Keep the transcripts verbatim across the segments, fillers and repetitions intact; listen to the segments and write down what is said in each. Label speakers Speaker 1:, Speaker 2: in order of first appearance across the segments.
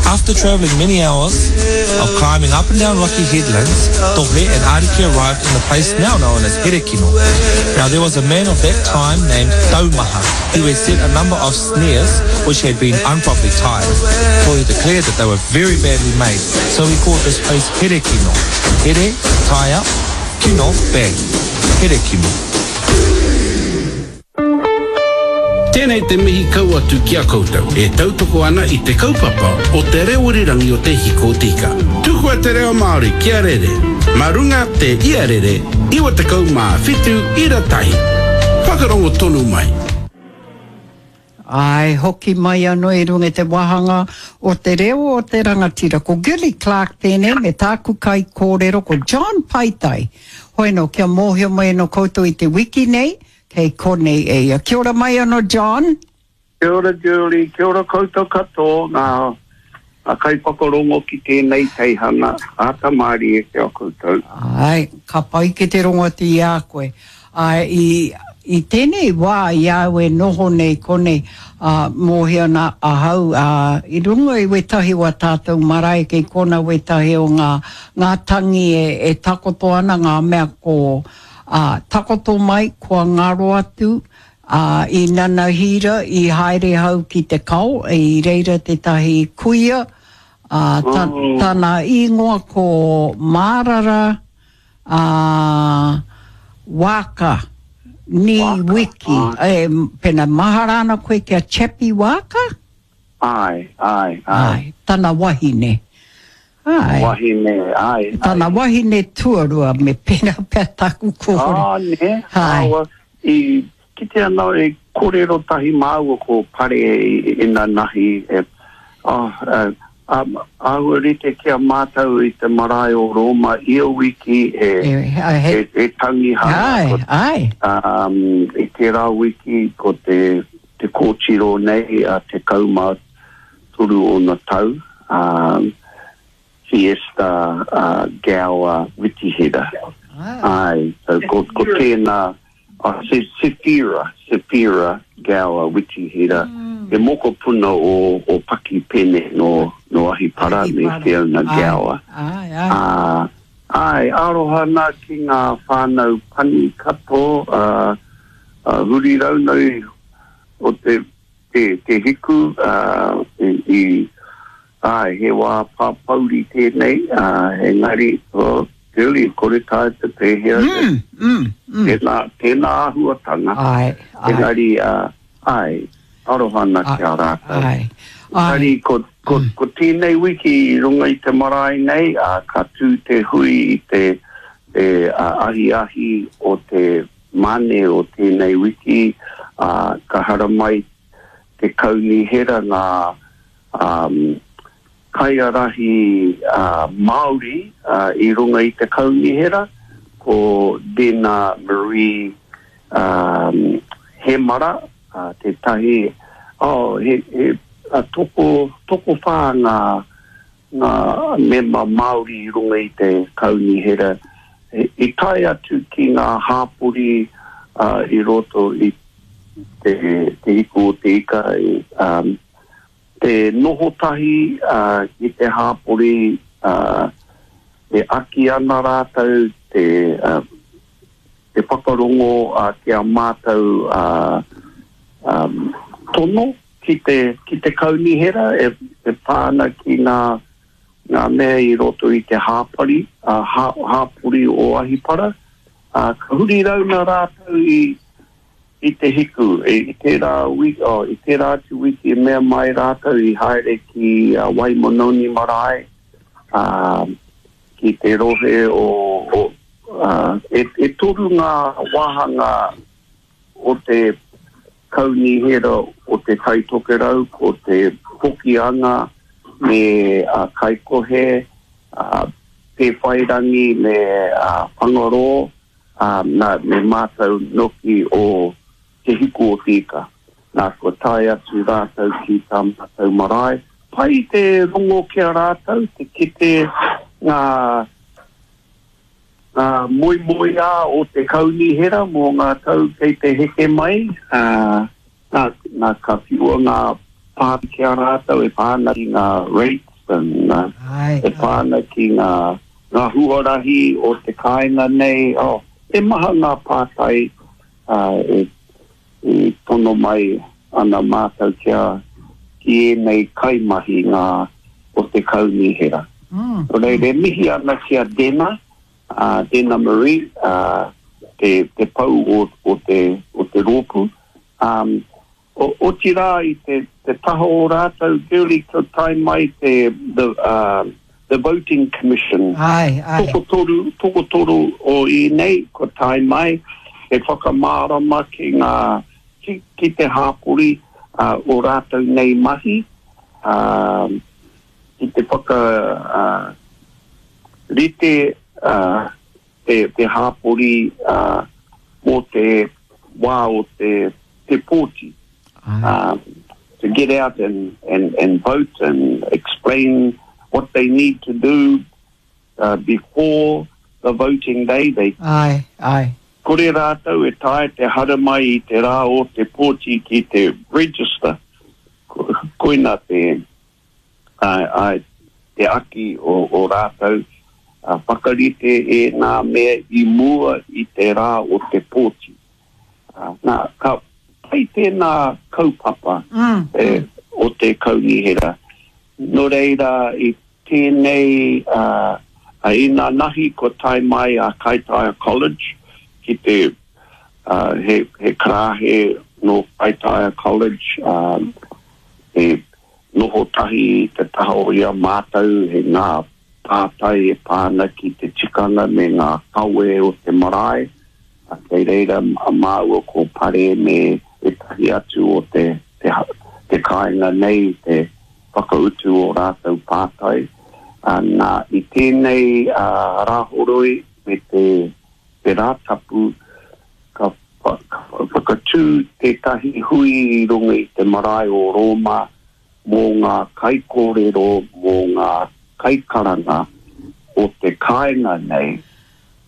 Speaker 1: After travelling many hours of climbing up and down rocky headlands, Tohe and Ariki arrived in the place now known as Herekino. Now there was a man of that time named Taumaha who had set a number of snares which had been improperly tied. Tohe declared that they were very badly made, so he called this place Herekino. Here, tie up, kino, bag. Herekino.
Speaker 2: Tēnei te mihi kau atu ki a koutou e tautoko ana i te kaupapa o te reo irirangi o Te Hiko o Te Ika. Tukua te reo Māori kia rere, mā runga te iarere iwa tekau mā whitu ira tahi. Whakarongo tonu mai.
Speaker 3: Āe, hoki mai anō i runga i te wāhanga o te reo o te rangatira. Ko Gilly Clarke tēnei me tāku kaikōrero ko John Paitai. Hoi anō, kia mōhio mai anō koutou i te wiki nei, kei konei e ia. Kia ora mai anō, John.
Speaker 4: Kia ora, Julie. Kia ora koutou katoa, ngā, ngā kaiwhakarongo ki tēnei teihana. Āta mārie ki a koutou.
Speaker 3: Āe, ka pai ki te rongo atu i a koe. Āe, i, i tēnei wā i a au e noho nei konei, ā, mōhio ana ahau, ā, i runga i wētahi o ā tātou marae kei kona wētahi o ngā, ngā tangi e, e takoto ana, ngā mea ko, ā, takoto mai, kua ngaro atu, ā, i nanahira, i haere hau ki te kao, i reira tētahi kuia, ā, ta, tana īngoa ko Mārara, ā, Waaka, ni Wiki, e, pena mahara ana koe ki a Chappie Waaka?
Speaker 4: Āe, āe, āe.
Speaker 3: Āe, tana wahine. Āe.
Speaker 4: Wahine, āe, āe.
Speaker 3: Tana wahine tuarua, me pena pea taku kōrero.
Speaker 4: Ā, nē,
Speaker 3: Āe.
Speaker 4: āua, i kite ana e kōrero tahi māua ko Pare inanahi, e, oh, e, um, āhua rite ki a mātou i te marae o Rōma ia wiki he,
Speaker 3: E, he,
Speaker 4: he, he tangihanga.
Speaker 3: Āe,
Speaker 4: Ko,
Speaker 3: āe.
Speaker 4: um, i tērā wiki ko te, te kōtiro nei a tekau mā toru ōna tau, um, Fiesta uh, Gower Witihera. Āe, so ko, ko tēnā, oh, Se, Sefira, Sefira Gower Witihera, he mokopuna o, o Paki Pene no, no Ahipara me
Speaker 3: Ahipara.
Speaker 4: Fiona
Speaker 3: Āe,
Speaker 4: Gower.
Speaker 3: āe, āe.
Speaker 4: Ā, āe, aroha nā ki ngā whānau pani katoa, uh, uh, huri raunau o te, te, te hiku, uh, i, i, āe, he wā pāpauri tēnei, uh, engari, oh, really, kore tae te pēhea,
Speaker 3: Mm, mm, mm.
Speaker 4: tēnā, tēnā āhuatanga,
Speaker 3: Āe, āe.
Speaker 4: engari, uh, āe, aroha ana ki a rātou.
Speaker 3: Āe, āe.
Speaker 4: Engari, ko, ko, ko tēnei wiki i runga i te marae nei, uh, ka tū te hui i te, te uh, ahiahi o te mane o tēnei wiki, uh, ka haramai te kaunihera ngā um, kaiarahi uh, Māori uh, i runga i te kaunihera, ko Dena Marie um, Hemara, uh, tētahi, oh, he, he, a toko, tokowhā ngā, ngā mema Māori i runga i te kaunihera. I, i tae atu ki ngā hāpori uh, i roto i te, te hiku o te ika, i, um, te noho tahi uh, ki te hāpori, uh, e aki ana rātou, te, uh, te whakarongo uh, ki a mātou uh, um, tono ki te, ki te kaunihera e, e pā ana ki ngā, ngā mea i roto i te hāpari, uh, hā, hāpori o Ahipara. Uh, ka huri rauna rātou i, i te hiku, i, i tērā wiki, oh, i tērā atu wiki e mea mai rātou i haere ki uh, Waimononi marae, uh, ki te rohe o, o uh, e, e toru ngā wāhanga o te kaunihera o te Tai Tokerau, ko te Hokianga me uh, Kaikohe, uh, Pēwhairangi me uh, Whangarō, um, nā, me mātou noki o Te Hiku o Te Ika. Nā, kua tae atu rātou ki tā mātou marae. Pai te rongo ki a rātou, te kite ngā, ngā moemoeā o te kaunihera mō ngā tau kei te heke mai. Uh, nā, nā, ka whiua ngā pā ki a rātou e pā ana ki ngā rates, happen.
Speaker 3: Ai,
Speaker 4: E pā ana ki ngā, ngā huarahi o te kāinga nei. Oh, e maha ngā pātai uh, e, e tono mai ana mātou kia ki ēnei kaimahi ngā o te kaunihera.
Speaker 3: Mm.
Speaker 4: Nō reira, e mihi ana ki a Dena, uh, Dena Marie, uh, te, te pau o, o, te, o te rōpū. Um, o, otirā i te, te taha o rātou, Girlie, ko tae mai te, the, uh, the Voting Commission.
Speaker 3: Ai, ai.
Speaker 4: Tokotoru, tokotoru o ēnei, ko tae mai, e whakamārama ki ngā, ki, ki te hāpori uh, o rātou nei mahi, uh, ki te whaka uh, rite uh, te, te hāpori uh, mō te wā o te, te pōti.
Speaker 3: Ai.
Speaker 4: Um, to get out and, and, and vote and explain what they need to do uh, before the voting day. They
Speaker 3: Ai, ai.
Speaker 4: kore rātou e tae te haramai i te rā o te pōti ki te register. Ko, koina te, ai, ai, te aki o, o rātou uh, whakarite e ngā mea i mua i te rā o te pōti. Uh, nā, ka pai tēnā kaupapa
Speaker 3: Mm.
Speaker 4: e, o te kaunihera. Nō reira i tēnei uh, a ina nahi ko tae mai a Kaitaia College ki te uh, he, he karahe no Kaitaia College um, e noho tahi i te taha o ia mātou he ngā pātai e pāna ki te tikanga me ngā kawe o te marae. A kei reira a māua ko Pare me ētahi atu o te, te, te kāinga nei, te whakautu o rātou pātai. Uh, nā, i tēnei uh, rāhoroi me te, te rātapu, ka, wha- ka whakatū tētahi hui i runga i te marae o Rōma mō ngā kaikōrero, mō ngā kaikaranga o te kāinga nei,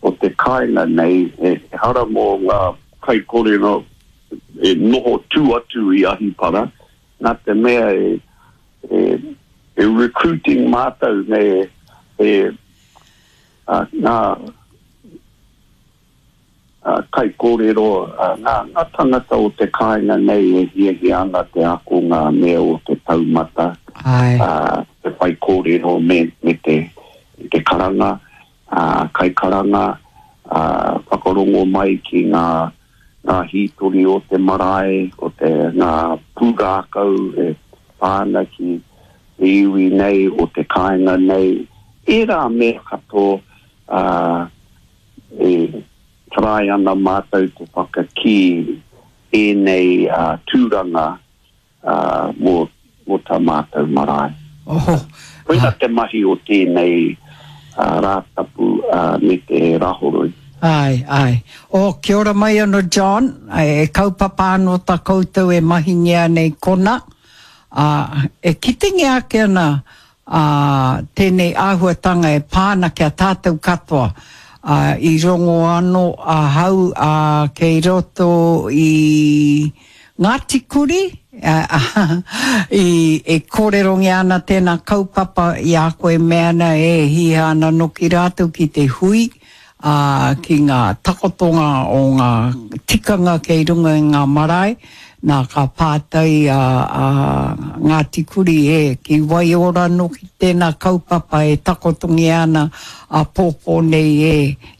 Speaker 4: o te kāinga nei, e hara mō ngā kaikōrero e noho tū atu i Ahipara, nā te mea e, e, e recruiting mātou me e, uh, ngā uh, kaikōrero, uh, ngā, ngā tangata o te kāinga nei e hiahia ana te ako ngā mea o te taumata,
Speaker 3: Ai.
Speaker 4: uh, te whaikōrero me, me te, te karanga, uh, kaikaranga, uh, whakarongo mai ki ngā, ngā hītori o te marae, o te ngā pūrākau e pāna ki te iwi nei, o te kāinga nei. Ērā mea katoa uh, e trai ana mātou te whakakī ēnei uh, tūranga uh, mō, mō tā mātou marae.
Speaker 3: Oho.
Speaker 4: Koina te mahi o tēnei uh, rātapu uh, me te rāhoroi.
Speaker 3: Ai, ai. O, kia ora mai ano, John. E kaupapa anō tā koutou e mahingia nei kona. Uh, e kitengia ake ana uh, tēnei āhuatanga e pāna kia tātou katoa. Uh, i rongo anō ahau uh, kei roto i Ngāti Kuri, uh, i, e kōrerongia ana tēnā kaupapa i a koe mea ana e hiha ana noki rātou ki te hui, uh, ki ngā takotonga o ngā tikanga kei runga i ngā marae, nā ka pātai a, a Ngāti Kuri e ki Waiora noki tēnā kaupapa e takotongia ana a pōpō nei e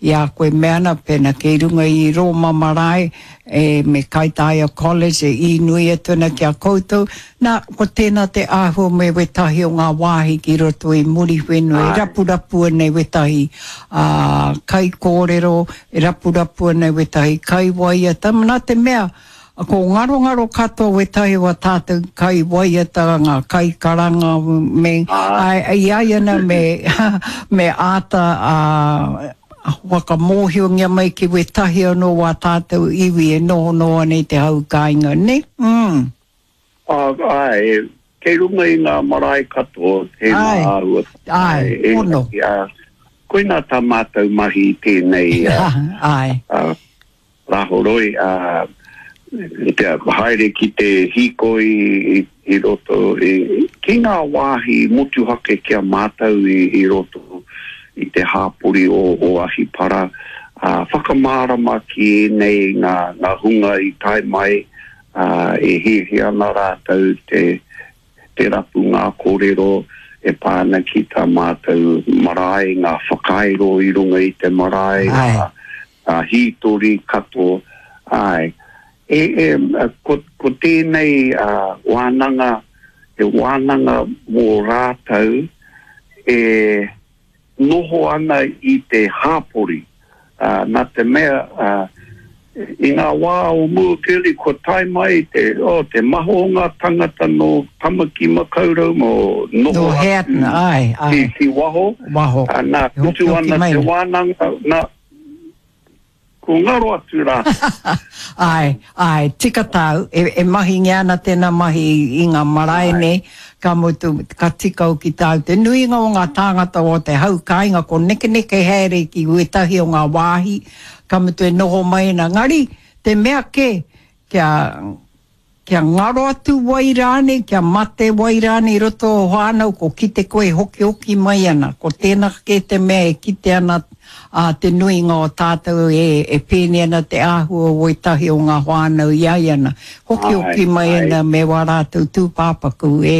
Speaker 3: i a koe mea ana pēnā kei runga i Rōma marae e me Kaitaia College e inui atu ana ki a koutou. Nā, ko tēnā te āhua me wetahi o ngā wāhi ki roto i Muriwhenua, e
Speaker 4: Ai.
Speaker 3: rapurapua nei wetahi uh, kaikōrero, e rapurapua nei wetahi kaiwaiata. Nā te mea, ko ngarongaro katoa wetahi wa tātou kaiwaiata, ngā kaikaranga, me,
Speaker 4: Ai.
Speaker 3: ai, ai ai ana me, me āta uh, whakamōhiongia mai ki wetahi anō wā tātou iwi e noho noa nei te hau kāinga, ne? Mm.
Speaker 4: Uh, ai, kei runga i ngā marae katoa, tēnā
Speaker 3: Ai.
Speaker 4: āhua.
Speaker 3: Ai,
Speaker 4: e,
Speaker 3: pono.
Speaker 4: Uh, koina tā mātou mahi tēnei uh,
Speaker 3: Ai.
Speaker 4: uh, rāhoroi, uh, te haere ki te hīkoi i, i roto, i, ki ngā wāhi motuhake ki a mātou i, i roto i te hāpori o, o Ahipara, uh, whakamārama ki ēnei ngā, ngā hunga i tae mai, uh, e hiahia ana rātou te, te rapu ngā kōrero e pā ana ki tā mātou marae, ngā whakairo i runga i te marae, ngā, ngā hītori katoa. Ai. E, e, ko, ko tēnei uh, wānanga, he wānanga mō rātou e noho ana i te hāpori. Uh, nā te mea, uh, i ngā wā o mua keri, kua tae mai te, oh, te maha o ngā tangata no Tamaki Makaurau, mō noho
Speaker 3: atu ai, ai.
Speaker 4: Ki, ki waho.
Speaker 3: Waho.
Speaker 4: Uh, nā, kutu ana te wānanga, nā, ko ngaro atu rā.
Speaker 3: Ai, ai, tika tāu, e, e mahingia ana tēnā mahi i ngā marae nei, ka mutu, ka tika au ki tāu. Te nuinga o ngā tāngata o te hau kāinga, ko nekeneke haere ki wētahi o ngā wāhi, ka mutu e noho mai ana. Ngari, te mea ke, kia, kia ngaro atu wai rānei, kia mate wai rānei i roto o whānau, ko kite koe hoki hoki mai ana. Ko tēnā ke te mea e kite ana a te nuinga o tātou e, e pēne ana te āhua o wētahi o ngā whānau i ai ana. Hoki hoki mai ana me wā rātou tūpāpaku e,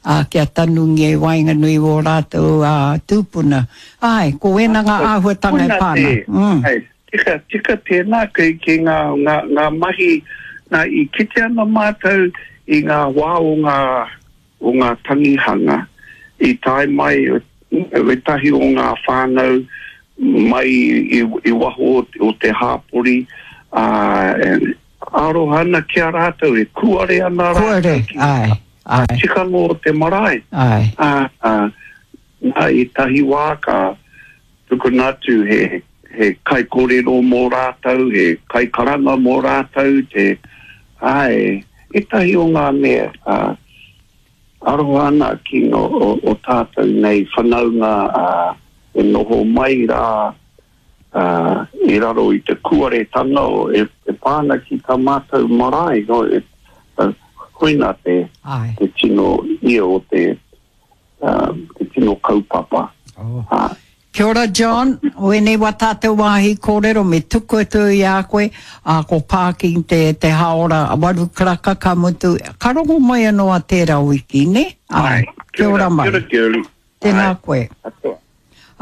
Speaker 3: a, kia tanungia i waenganui o rātou a, tūpuna. Ai, ko wena ngā āhuatanga e pāna.
Speaker 4: Mm. Ai, tika, tika tēnā ki, ki ngā, ngā, ngā mahi. Nā, i kite ana mātou i ngā wā o ngā, o ngā tangihanga, i tae mai wētahi o ngā whānau mai i, i waho o te hāpori, uh, aroha ana ki a rātou, e kuare ana rātou.
Speaker 3: Kuare,
Speaker 4: ki,
Speaker 3: ai, ai.
Speaker 4: Tikanga o te marae.
Speaker 3: Ai.
Speaker 4: Uh, uh, nā, i tahi wā ka tukuna atu he, he kaikorero mō rātou, he kaikaranga mō rātou, te, ai, ētahi o ngā mea, uh, aroha ana ki no, o, o tātou nei whanaunga uh, e noho mai rā uh, i raro i te kuaretanga o e, e pāna ki tā mātou marae, no, e, uh, koina te, te tino ia o te, uh, te tino kaupapa.
Speaker 3: Oh. Uh, Kia ora John, wēnei wā tātou wāhi kōrero me tuku atu i a koe, a ko parking te, te haora waru karaka ka mutu, ka rongo mai anō a tērā wiki, ne?
Speaker 4: Ai,
Speaker 3: kia ora mai.
Speaker 4: Kia ora, kia ora.
Speaker 3: Tēnā koe.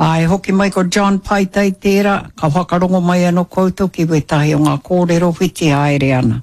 Speaker 3: Ai, hoki mai ko John Paitai tērā, ka whakarongo mai anō koutou ki wētahi o ngā kōrero whiti haere ana.